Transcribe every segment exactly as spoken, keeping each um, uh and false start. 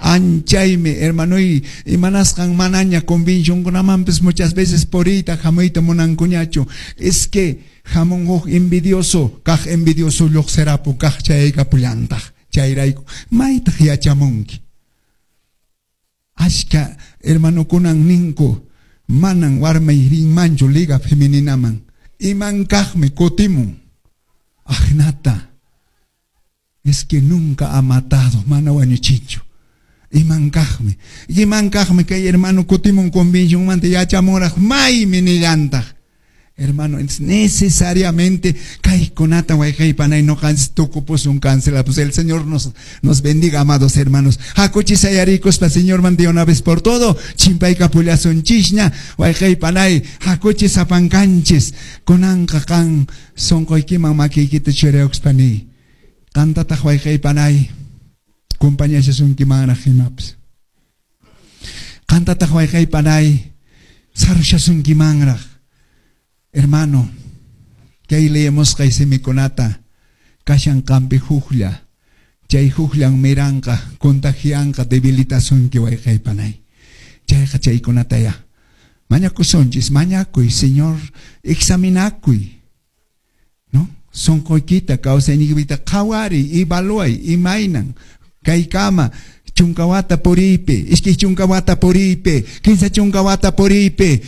Anchaymi, hermanoy, imanasqan manaña convencionkunamanpis muchas veces puriyta hamuyta munankuñachu. Es que hamun huk envidioso, kaq envidioso lluqsirapu, kaq chayaykapullantaq. Chayrayku, maytaq yachamunki. Ashka hermanokunan ninku, manan warmay rinmanchu liga femeninaman. Iman kaqmi kutimun. Ajnata. Es que nunca ha matado, mana wañuchinchu. Iman kaqmi. Iman kaqmi kay hermano kutimun convencionmanta yachamuraq maymi nillantaq. Hermano, necesariamente kaykunata wayqaypanay ñuqanchis tukupusun cancelapus. El Señor nos, nos bendiga, amados hermanos. Hakuchis sayarikuspa Señor de una vez por todo. Chimpaykapullasunchishña wayqaypanay hakuchis sapankanchis. Kunanqa qan sunquykiman makiykita churaykuspa niy. Qantataq wayqaypanay compañashasunkimanraq imapis. Qantataq wayqaypanay sarushasunkimanraq. Hermano, kay leemusqay simikunata kashan qampi huklla, chay hukllan miranqa, contagianqa, debilitasunki wayqaypanay. Chayqa chaykunata ya. Mañakusunchis, mañakuy, Señor, examinakuy. ¿No? Sunquykita, kawsayniykita qhawariy, evaluay, imaynan, kaykama, chunka wata puriypi, iskay chunka wata puriypi, kinsa chunka wata puriypi,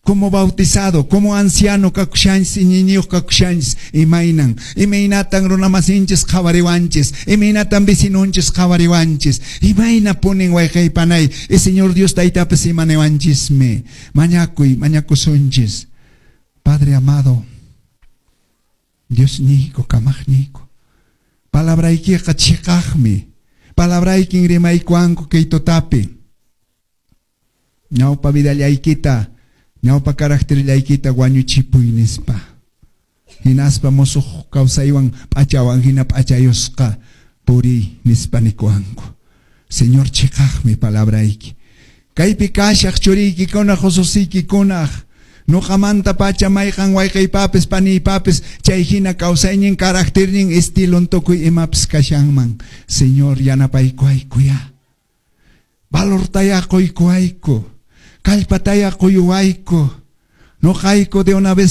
como bautizado, como anciano kakushanchis, iñiyniyuq kakushanchis, imaynan, imaynatan runamasinchis qhawariwanchis, imaynatan vecinonchis qhawariwanchis, imayna punin wayqaypanay, el Señor Dios taytapas imaniwanchismi, mañakuy, mañakusunchis. Padre amado, Dios niyku, kamaqniyku, palabraykiqa chiqaqmi, palabraykin rimaykuwanku kay tutapi, ñawpa vidallaykita, ñawpa caracterllaykita wañuchipuy nispa. Hinaspa musuq kawsaywan p'achawan hina p'achayusqa puriy nispa nikuwanku. Señor, chiqaqmi palabrayki. Kaypi kashaq churiykikunaq ususiykikunaq ñuqamanta pacha mayqan wayqiypapis paniypapis chay hina kawsaynin caracternin estilon tukuy imapis kashanman. Señor, yanapaykuwaykuya. Valortaya quykuwayku. Kallpataya quyuwayku. Ñuqayku de una vez